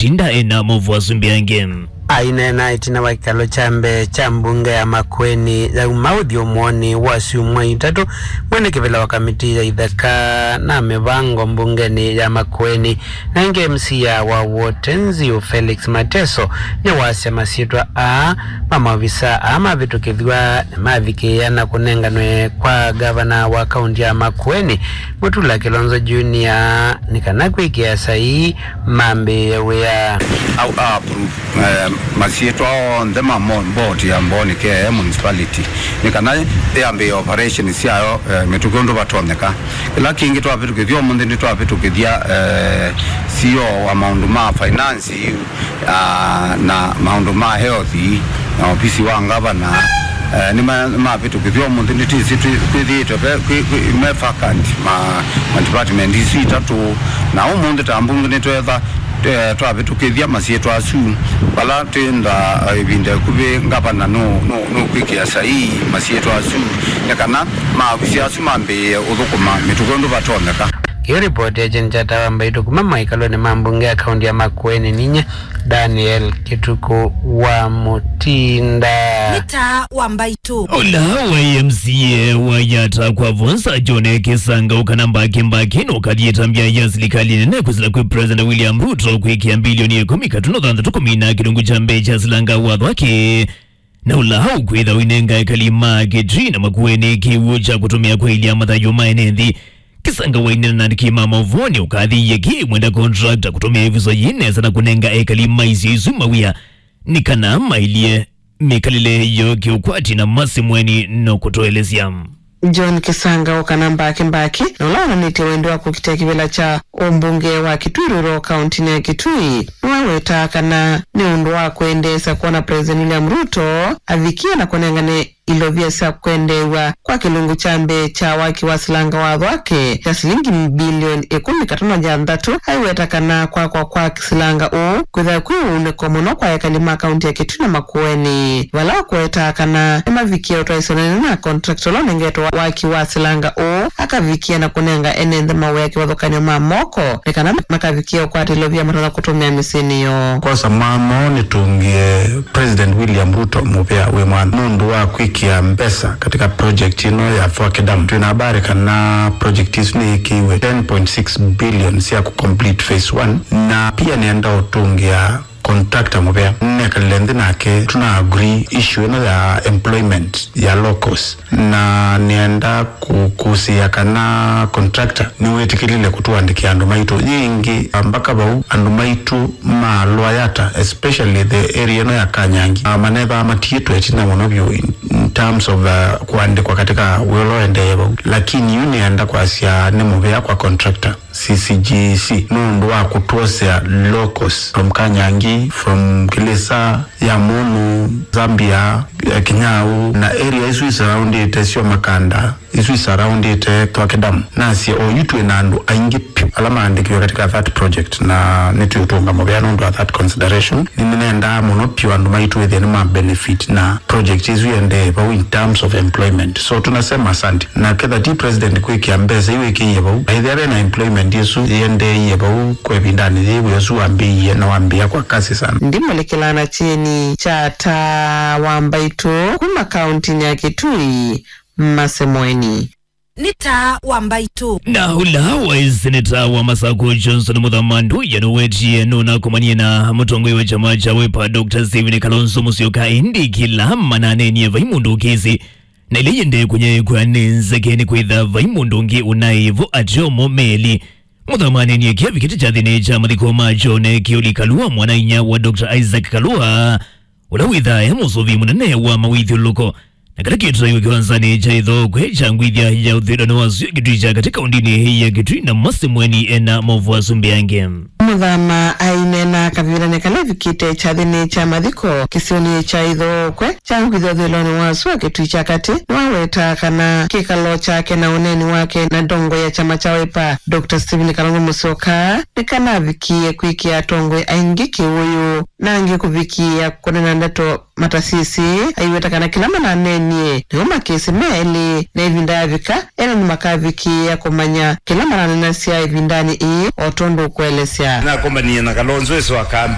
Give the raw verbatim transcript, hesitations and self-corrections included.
Mutinda ena maũvoo asu mbeange. Aineena ĩtina wa kĩkalo kya mbee kya mbunge ya Makueni yauma ũthyũmũonĩ wa syumwa itatũ, mwene kĩvĩla wa kamiti ya itheka na mĩvango mbungenĩ ya Makueni, na ĩngĩ M C A wa Wotenzio Felix Mateso, nĩwasya masyĩtwa aa ma maovisa aa mavĩtũkĩthw'a nĩmavikĩĩa na kũnenganwe kwa ngavana wa kaunti ya Makueni, Mutula Kilonzo Junior, nĩ kana kwĩkĩa saii mambĩĩe wĩa. Au a approve, eh, masyĩtwa onthe ma mo-, board ya Mbooni K A A municipality, nĩ kana yambĩĩe operation syayo, eh, mĩtũkĩ ũndũ vatonyeka. Kĩla kĩngĩ twavĩtũkĩthya ũmũnthĩ, nĩtwavĩtũkĩthya, eh, C E O wa maũndũ ma finance, ah, na maũndũ ma health, na ofisi wa ngavana, eh, nĩma-, nĩmavĩtũkĩthya ũmũnthĩ. Nĩtwĩsĩ twĩ-, twĩthĩĩtwe ve-, kwĩ-, kwĩ-, me vacant ma, ma department isu itatũ, na ũmũnthĩ ta mbunge nĩtwetha, eh, twavĩtũkĩthya masyĩtwa asu, vala twĩenda, eh, ĩvinda ĩkuvĩ ngavana nũ-, nũ-, nũkwĩkĩa saii masyĩtwa asu, nĩ kana maovisi asu mambĩĩe ũthũkũma mĩtũkĩ ũndũ vatonyeka. Kĩu ripoti ya Jane Chata wa Mbaitũ kuma maikalonĩ ma mbunge ya kaunti ya Makueni, ninyie Daniel Kĩtukũ wa Mutinda. Nĩ Taa wa Mbaitũ. Ũla wa M C A wa Yatta Kwavonza John Kĩsanga ũkana mbaki mbaki nũkathi ĩtambya ya silikalĩ nene kwĩsĩla kwĩ President William Ruto kwĩkĩa mbilioni ĩkũmi katuno thanthatũ kũmina kĩlungu kya mbee kya silanga wa thwaki. Na ũla ũkwĩtha ũinenga ekali ma Kitui na Makueni kĩw'ũ kya kũtũmĩa kwaĩlya mathayũ ma ene nthĩ. Kĩsanga waineena na andĩki ma maũvoo nĩ ũkathĩie kĩ mwenda contractor kũtũmĩa ĩvuso yĩ nesa na kũnenga ekali ma isio isu mawĩa nĩ kana maĩlye mĩkalĩle yoo kĩũkwati na Mercy Mweni no kũtũelesya. John Kĩsanga ũkana mbaki mbaki na ũla wonanĩtye wendi wa kũkitĩa kĩvĩla kya ũmbunge wa Kitui Rural kauntinĩ ya Kitui nĩwawetaa kana nĩ ũndũ wa kwendeesya kwona President William Ruto avikie na kũnengane ilovia sya kwendeew'a kwa kĩlungu kya mbee kya waki wa silanga wa thwake kya silingi mbilioni ĩkũmi katono ya nthatũ. Aiweta kana kwakwa kwa silanga ũũ kwĩthĩwa kwĩ ũunĩko mũno kwa ekali ma kaunti ya Kitui na Makueni, vala ũkũwetaa kana nĩmavikie ũtwaĩsyo nene na contractor ũla ũnengetwe waki wa silanga ũũ akavikie na kũnenga ene nthĩ mawĩa kĩvathũkany'o ma moko nĩ kana makavikie ũkwata ilovia matonya kũtũmĩa mĩsyĩnĩ yoo. Kwosa mwanya ũũ nĩtũngĩe President William Ruto mũvea wĩ mwanya nũndũ wa kwĩkĩa mbesa katika project ĩno ya Thwake Dam. Twĩ na habari kana project isu nĩyĩkĩiwe ten point six billion sya kũ complete phase one, na pia nĩenda ũtũngĩa contractor mũvea. Nekalile nthĩ nake, tuna agree issue ĩno ya employment ya locals, na nĩenda kũkũsĩĩa kana contractor nĩwĩtĩkĩlile kũtũandĩkĩa andũ maitũ. Yĩngĩ, mpaka vau andũ maitũ ma Lower Yatta, especially the area ĩno ya Kanyangi, ah, manethaa matiĩtwe ĩtina mũno vyũ in, in terms of, uh, kũandĩkwa katika wĩa ũla ũendee vau. Lakini yu nĩenda kwasya nĩ mũvea kwa contractor C C G C nũndũ wa kũtwosea locals from Kanyangi, from Kilisa, Yamunu, Zambia, eh, Kinyau, na area isu isurroundĩte syo Makanda, isu isurroundĩte Thwake Dam. Nasye oyu twĩ na andũ aingĩ vyũ ala maandĩkiwe katika that project, na nĩtũũtũnga mũvea nũndũ wa that consideration. Nĩnendaa mũno vyũ andũ maitũ ethĩe nĩma benefit na project isu iendee vau in terms of employment. So tunasema asante. Na ketha ti president kwĩkĩa mbesa iwĩkĩie vau, na ethĩa ve na employment ĩsu yĩendeeie vau kwa ĩvindanĩ yĩĩ, wĩa ũsu wambĩĩie na wambĩĩa kwa kasi sana. Ndimũlĩkĩlaa na kyeni kya Taa wa Mbaitũ kuma kauntinĩ ya Kitui, Mercy Mweni. Nĩ Taa wa Mbaitũ. Na ũla waĩ seneta wa Masakũ Johnson Mũthama Nduya nũwetie nũnakomanie na mũtongoi wa kyama kya Wiper Doctor Stephen Kalonzo Musyoka, ĩndĩ kĩla mananenie vai mũndũ ũkĩsĩ na ĩla yĩendee kũnyaĩĩkw'a nĩ nzeke nĩ kwĩtha vai mũndũ ũngĩ ũnaĩ vo ateo mo melĩ. Mũthama anenie kĩavi kĩtĩ kyathĩnĩ kya mathiko ma John Kĩũli Kalua, mwana-inyia wa Doctor Isaac Kalua, ũla wĩthaa e mũsũvĩi mũnene wa mawĩthyũlũlũko, na kĩla kĩtwaiwe kĩwanzanĩ kya Ĩthookwe kya ngwithya ya ũthwĩlonĩ wa sua Kitui kya katĩ kaũndinĩ ya Kitui, na Mercy Mweni ena maũvoo asu mbeange. Mũthama aineena kavindanĩ kala ĩvikĩte kyathĩnĩ kya mathiko kĩsionĩ kya Ĩthookwe kya ngwithya ũthwĩlonĩ wa sua Kitui kya katĩ, nĩwawetaa kana kĩkalo kyake na ũneeni wake na ndongoi ya kyama kya Wiper, Doctor Stephen Kalonzo Musyoka, nĩkanavikie kwĩkĩa atongoi aingĩ kĩwũyũ, na angĩ kũvikĩĩa kũneena ndeto matasisĩ, aiweta kana kĩla mananeenie nĩw'o makĩsĩ me elĩ, na ĩvinda yavika, ene nĩmakavikĩĩa kũmanya kĩla mananenasya ĩvindanĩ ĩĩ, o tondũ ũkũelesya. Nakomanie na Kalonzo ĩsu akamba